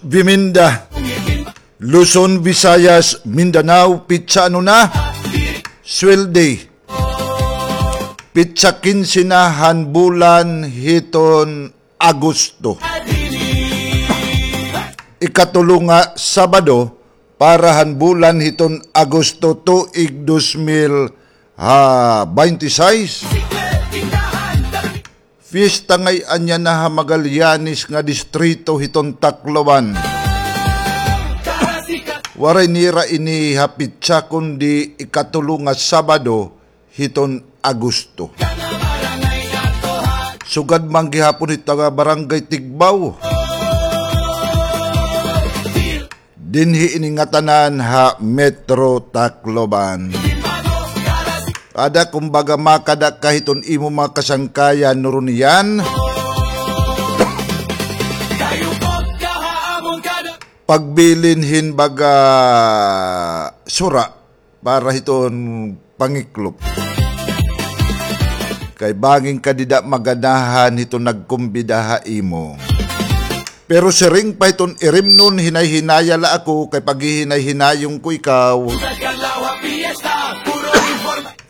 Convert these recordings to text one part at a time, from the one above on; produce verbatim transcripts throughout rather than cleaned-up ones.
Biminda, Luzon, Visayas, Mindanao, pitsa ano na? Sweldo. Pitsa kinse na han bulan hiton Agosto. Ikatulo nga Sabado para han bulan hiton Agosto tuig dos mil, ha, baynte sais. Fiesta ngay-an yana ha Magallanes nga distrito hiton Tacloban. Waray nira ini ha pitsa kundi ikatulo nga Sabado hiton Agosto. Sugad man gihapon hito nga Barangay Tigbao. Dinhi ini ngatanan ha Metro Tacloban. Ada kumbaga makada ka hiton imo mga kasangkayan, Nurunian. Pagbilin hin baga sura para hiton pangiklop. Kay bangin ka dida maganahan hiton nagkumbida ha imo. Pero siring pa hiton irimnon, hinay-hinaya la ako kay paghihinay-hinayong ko ikaw.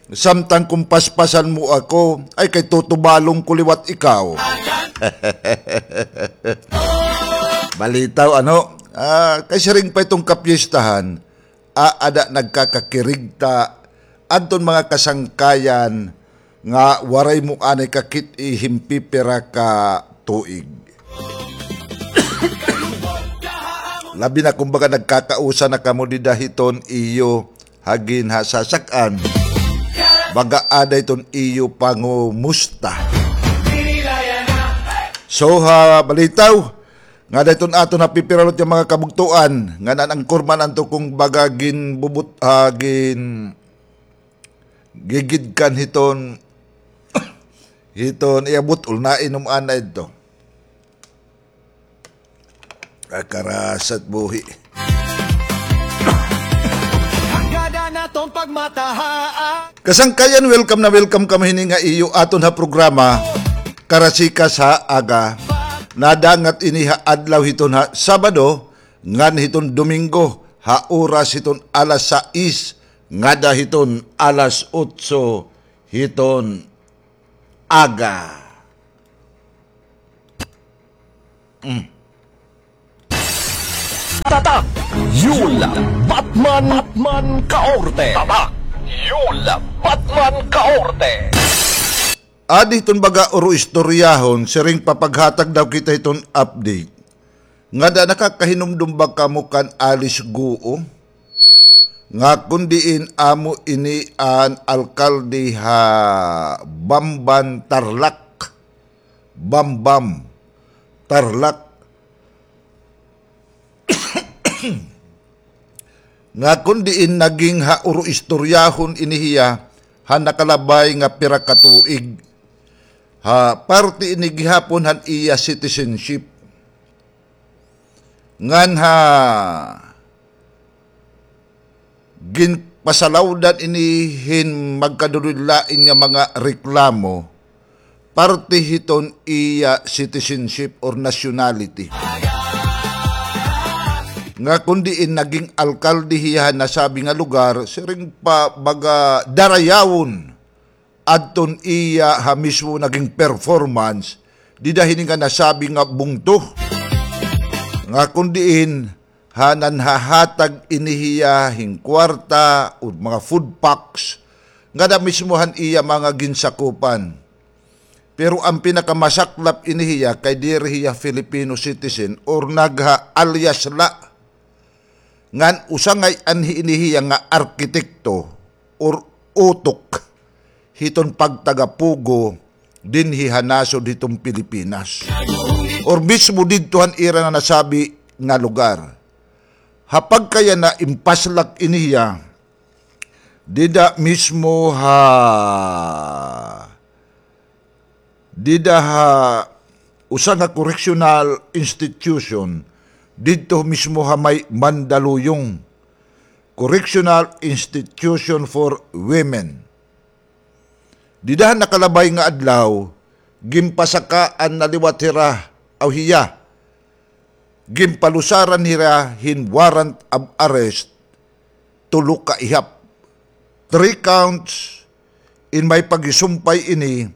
Samtang kon paspasan mo ako, ay kay tutubalon ko liwat ikaw. Balitaw, ano? Ah, kay siring pa hiton kapiestahan, aada nagkakakirigta adton mga kasangkayan nga waray mo anay kakit-i hin pipira ka tuig. Labi na kumbaga nagkakausa na kamo dida hiton iyo hagin ha sasak-an. Baga ada hiton iyo pangumusta. So, ha, balitaw, ngada hiton aton ha pipira liwat nga mga kabugtoan, ngan an angkor man adto kumbaga ginbubut-, ah, gin-, gigidkan hiton, hiton iya but-ol, nainom anay adto. Ah, karasat buhi. Kasangkayan, welcome na welcome kamo hini nga iyo aton ha programa, Karasikas ha Aga. Nadangat ini ha adlaw hiton ha Sabado, ngan hiton Domingo, ha oras hiton alas sais, ngada hiton alas otso hiton aga. Mm. Tatak, Yul, Batman, Batman Kaorte. Tatak, Yul, Batman Kaorte. Adi hiton baga uro-istoryahon, siring pa paghatag daw kita hiton update. Ngada nakakahinumdom ba kamo kan Alice Guo? Nga kon diin amo ini an alkalde ha Bamban, Tarlac. Bambam, Tarlac. Nga kon diin naging ha uro-istoryahon ini hiya ha nakalabay nga pira ka tuig. Ha parte ini gihapon han iya citizenship. Ngan ha ginpasalawdan ini hin magkadulod-lain nga mga reklamo, parte hiton iya citizenship or nationality. Nga kon diin naging alkalde hiya ha nasabi nga lugar, siring pa baga darayawon adton iya ha mismo naging performance dida hini nga nasabi nga bungto. Nga kon diin ha nanhahatag ini hiya hin kwarta o mga food packs ngada mismo han iya mga ginsakupan. Pero an pinakamasaklap ini hiya kay diri hiya Filipino citizen or nagha-alias la. Ngan usa ngay-an ini hiya nga arkitekto or utok hiton pagtagapugo dinhi ha nasod hiton Pilipinas. Or mismo didto han ira nga nasabi nga lugar. Ha pagkayana impaslak ini hiya dida mismo ha dida ha usa nga correctional institution didto mismo ha may Mandaluyong, Correctional Institution for Women. Dida ha nakalabay nga adlaw, ginpasakaan na liwat hira, aw hiya, ginpalusaran hira hin warrant of arrest, tulo ka ihap, three counts, in may paghisumpay ini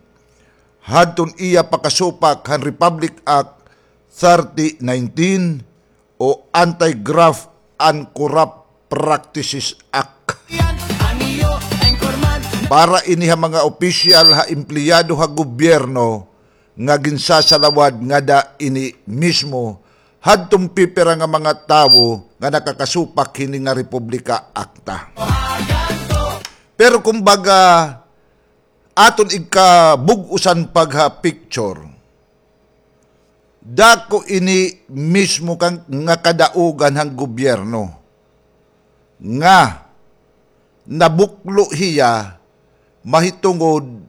hadton iya pakasupak han Republic Act thirty nineteen o Anti-Graft and Corrupt Practices Act. Para ini ha mga opisyal ha empleyado ha gobyerno nga ginsasalawad ngada ini mismo hadton pipira nga mga tawo nga nakakasupak hini nga republika akta. Pero kumbaga, aton igkabug-osan pagha-picture, dako ini mismo kan, nga kadaugan han gobyerno nga nabuklo hiya mahitungod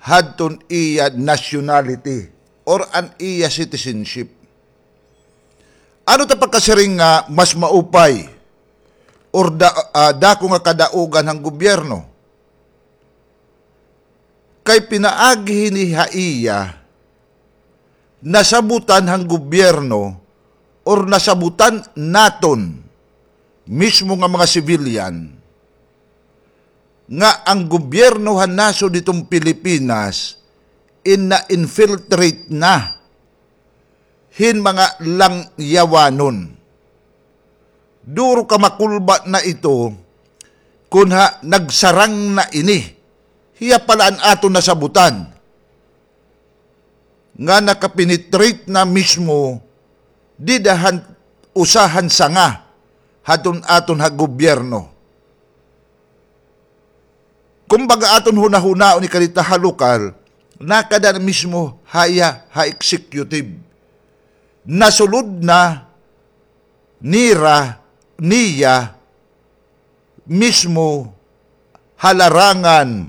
hadton iya nationality or an iya citizenship. Ano ta pagkasiring nga mas maupay or da-, ah, dako nga kadaugan han gobyerno? Kay pinaagi hini ha iya, nasabutan han gobyerno or nasabutan naton mismo nga mga civilian nga an gobyerno han nasod hiton Pilipinas in na-infiltrate na hin mga langyawanon. Duro ka makulba na ito, kun ha nagsarang na ini. Hiya pala an aton nasabutan nga nakapenetrate na mismo dida han usa han sanga hadton aton ha gobyerno. Kumbaga, aton hunahunaon ini kadita ha lokal, nakada na mismo ha iya ha executive. Nasulod na nira, niya mismo ha larangan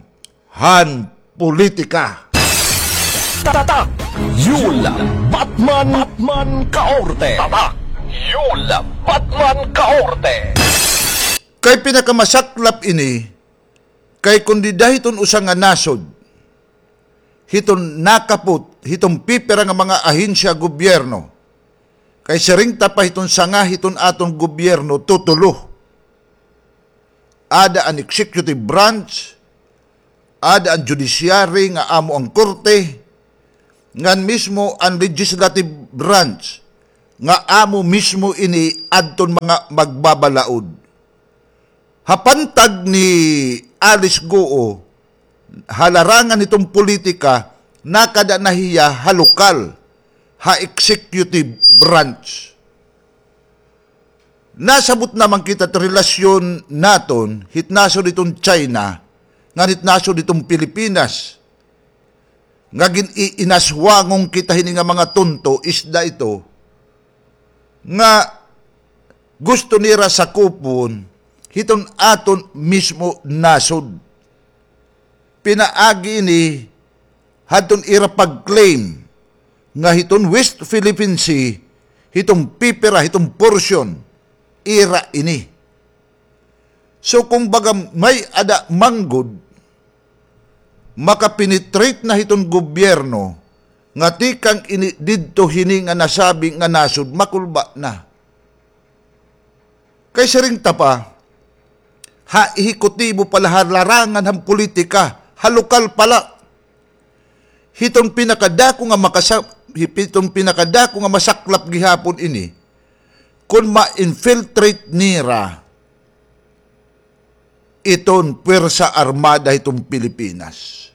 han politika. Tatak Yul Batman, Batman Kaorte. Tatak Yul Batman Kaorte. Kay pinakamasaklap ini, kay kon dida hiton usa nga nasod, hiton nakapot hiton pipira nga mga ahensya gobyerno, kay siring ta pa hiton sanga hiton aton gobyerno, tutulo. Ada an executive branch, ada an judiciary nga amo an korte, ngan mismo an legislative branch nga amo mismo ini adton mga magbabalaod. Ha pantag ni Alice Goo, ha larangan hiton politika, nakada na hiya ha lokal, ha executive branch. Nasabot naman kita it relasyon naton hit nasod hiton China ngan hit nasod hiton Pilipinas, nga gin-iinaswangon kita hini nga mga tunto, isda ito, nga gusto nira sakupon hiton aton mismo nasod. Pinaagi ini hadton ira pag-claim nga hiton West Philippine Sea, hiton pipira, hiton portion, ira ini. So, kumbaga, may-ada man gud makapenetrate na hiton gobyerno nga tikang ini didto hini nga nasabi nga nasod, makulba na. Kay siring ta pa, ha ehekutibo pala, ha larangan han politika, ha lokal pala. Hiton pinakadako nga makasa-, hiton pinakadako nga masaklap gihapon ini, kon ma-infiltrate nira iton Puwersa Armada hiton Pilipinas.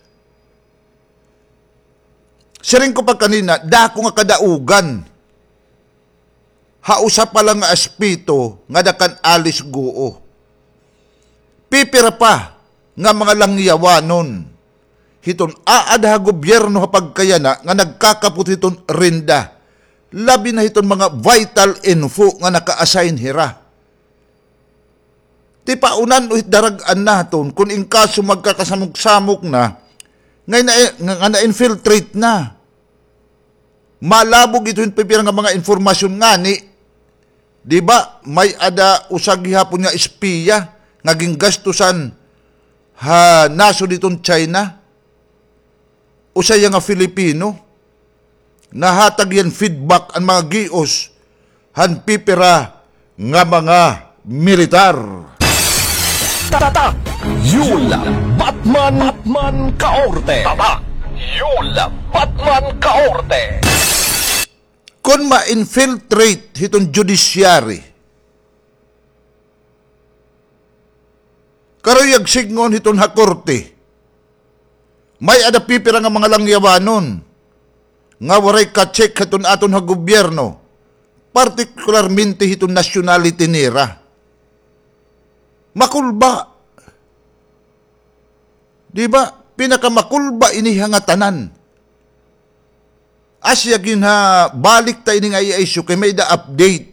Siring ko pa kanina, dako nga kadaugan ha usa pa la nga aspeto ngada kan Alice Goo. Pipira pa nga mga langyawanon hiton aada ha gobyerno ha pagkayana nga nagkakapot hiton renda, labi na hiton mga vital info nga naka-assign hira. Tipaunan-o hit darag-an naton, kon in kaso magkakasamok-samok na, nga na-, nga, nga na-infiltrate na. Malabog ito hin pipira nga mga impormasyon ngani. Di ba, may-ada usa gihapon nga espiya nga gingastusan ha nasod hiton China. Usa hiya nga Filipino. Nahatag hiya hin feedback an mga gios han pipira nga mga militar. Tatak Yul Batman, Batman Kaorte. Tatak Yul Batman Kaorte. Kon ma-infiltrate hiton judiciary, karuyag sidngon hiton ha korte, may-ada pipira nga mga langyawanon nga waray ka-check hiton aton ha gobyerno, partikularmente hiton nationality nira. Makulba. Di ba? Pinakamakulba ini ha ngatanan. Asya ginhabalik ta ini nga iya issue kay may-ada update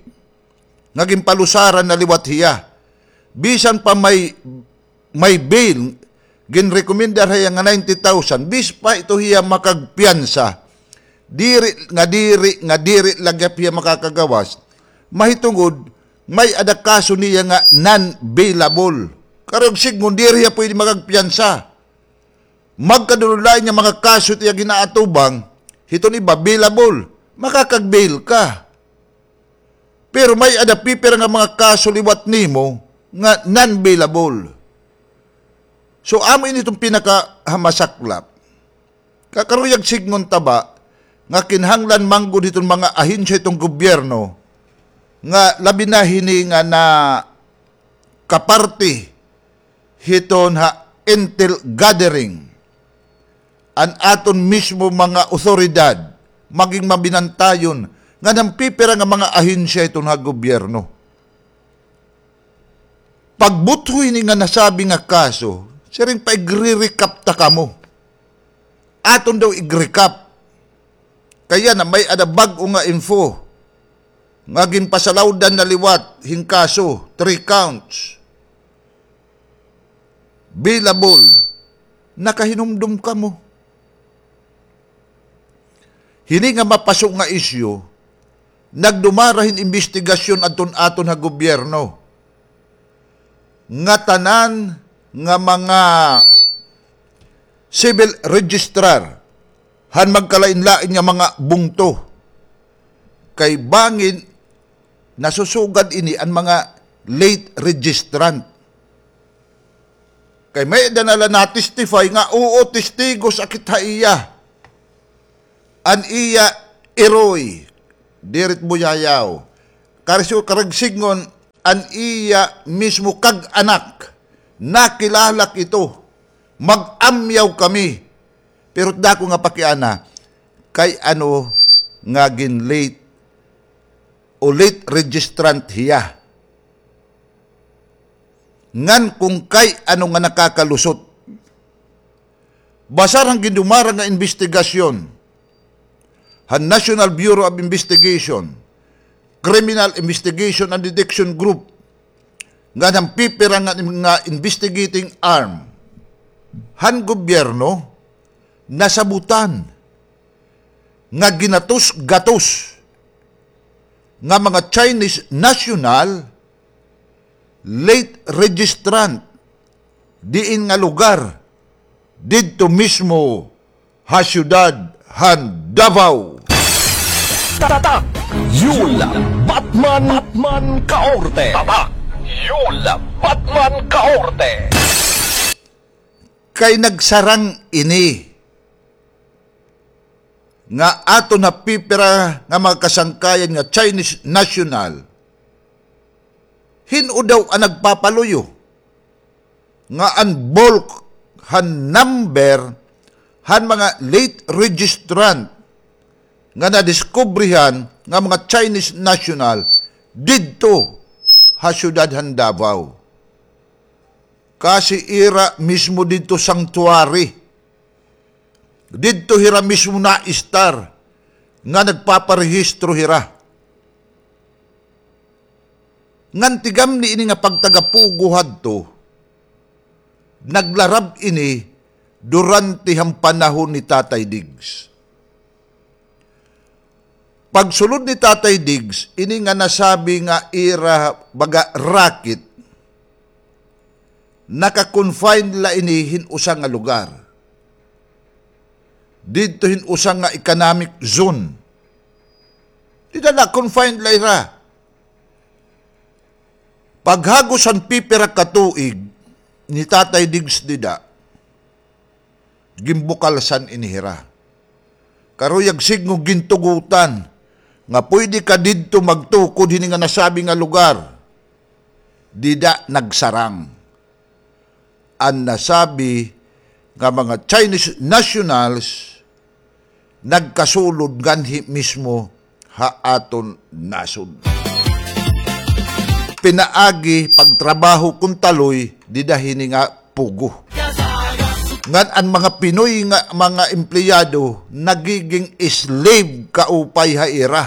nga ginpalusaran na liwat hiya. Bisan pa may, may bail, ginrekomendar hiya nga ninety thousand, bisan pa ito hiya makagpiyansa. Diri nga diri, nga diri la gihap hiya makakagawas. Mahitungod, may-ada kaso niya nga non-bailable. Karuyag sidngon, diri hiya pwede makagpiyansa. Magkadululain nga mga kaso it iya ginaatubang, hiton iba, bailable. Makakag-bail ka. Pero may-ada pipira nga mga kaso liwat nimo nga non-bailable. So, amo ini iton pinakahamasaklap. Kakaruyag sidngon ta ba nga kinahanglan man gud hiton mga ahensya hiton gobyerno nga labi na hini nga nakaparte hiton ha intel gathering, an aton mismo mga awtoridad maging mabinantayon ngan han pipira nga mga ahensya hiton ha gobyerno. Pagbutho hini nga nasabi nga kaso, siring pa igre-recap ta kamo. Aton daw igrecap. Kay yana may-ada bag-o nga info nga ginpasalawdan na liwat hin kaso, three counts. Bailable. Nakahinumdom kamo. Hini nga mapaso nga isyu, nagdumara hin imbestigasyon adton aton ha gobyerno. Ngatanan nga mga civil registrar han magkalain-lain nga mga bungto. Kay bangin nasusugad ini an mga late registrant. Kay may-ada na la na-testify nga, oo, testigos akit ha iya. An iya iroy, diri it buyayaw. Kari-, karuyag sidngon, an iya mismo kag-anak, nakilala ko ito. Mag-amyaw kami. Pero dako nga pakiana, kay ano nga gin-late o late registrant hiya. Ngan kon kay ano nga nakakalusot. Basar han gindumara nga imbestigasyon han National Bureau of Investigation, Criminal Investigation and Detection Group, ngan han pipira nga, nga investigating arm han gobyerno, nasabutan nga ginatos-gatos nga mga Chinese national late registrant diin nga lugar didto mismo ha siyudad han Davao. Tatak Yul Batman, Batman Kaorte. Tatak Yul Batman Kaorte. Kay nagsarang ini nga aton ha pipira nga mga kasangkayan nga Chinese national, hin-o daw an nagpapaluyo nga an bulk han number han mga late registrant nga nadiskubrihan nga mga Chinese national didto ha siyudad han Davao. Kasi ira mismo didto sanctuary. Didto hira mismo naistar nga nagpaparehistro hira. Ngan tigamni ini nga pagtagapugo hadto, naglarab ini durante han panahon ni Tatay Diggs. Pagsulod ni Tatay Diggs, ini nga nasabi nga ira baga racket, naka-confine la ini hin usa nga lugar. Didto hin usa nga economic zone. Dida la, confined la ira. Paghagos han pipira ka tuig ni Tatay Diggs dida, ginbukalsan ini hira. Karuyag sidngon gintugotan nga pwede ka didto magtukod hini nga nasabi nga lugar. Dida nagsarang an nasabi nga mga Chinese nationals nagkasulod nganhi mismo ha aton nasod. Pinaagi pagtrabaho kon taloy dida hini nga Pogo. Ngan an mga Pinoy nga mga empleyado nagiging slave kaupay ha ira.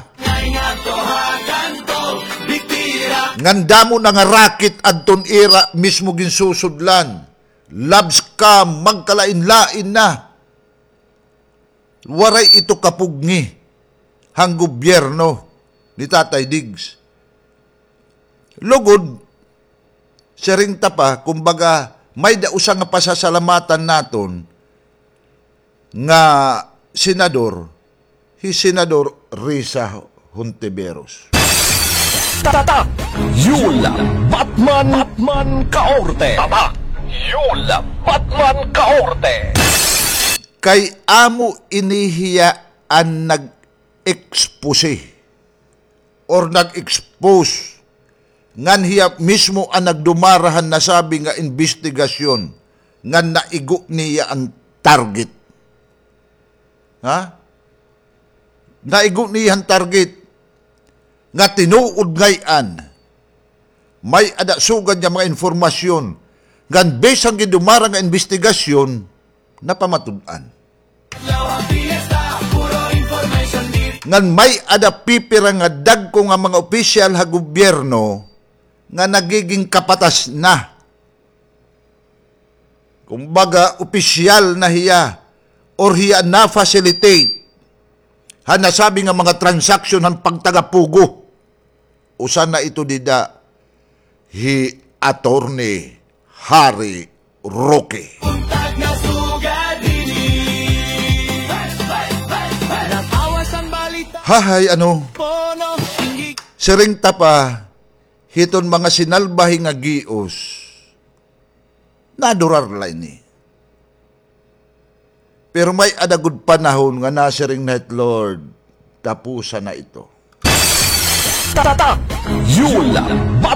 Ngan damo na nga racket adton ira mismo ginsusudlan. Love scam, magkalain-lain na. Waray ito kapugngi han gobyerno ni Tatay Diggs. Lugod, siring ta pa, kumbaga, may-ada usa nga pasasalamatan naton nga senador, hi Senador Risa Hontiveros. Tatak Yul Batman, Batman Kaorte. Tatak Yul Batman Kaorte. Kay amo ini hiya an nag-expose or nag-expose ngan hiya mismo an nagdumara han nasabi nga imbestigasyon ngan naigo niya an target. Ha? Naigo niya an target nga tinuod ngay-an. May-ada sugad nga mga impormasyon ngan bisan gindumara nga imbestigasyon, napamatud-an. Ngan may-ada pipira nga dagko nga mga opisyal ha gobyerno nga nagiging kapatas na. Kumbaga, opisyal na hiya or hiya na-facilitate han nasabi nga mga transaksyon han pagtaga-Pogo. Usa na ito dida hi Attorney Harry Roque. Hahay, ano? Siring ta pa, hiton mga sinalbahe nga gios, nadurar la ini. Pero may-ada gud panahon nga nasiring na it Lord, tapusan na ito. Tatak Yul Bat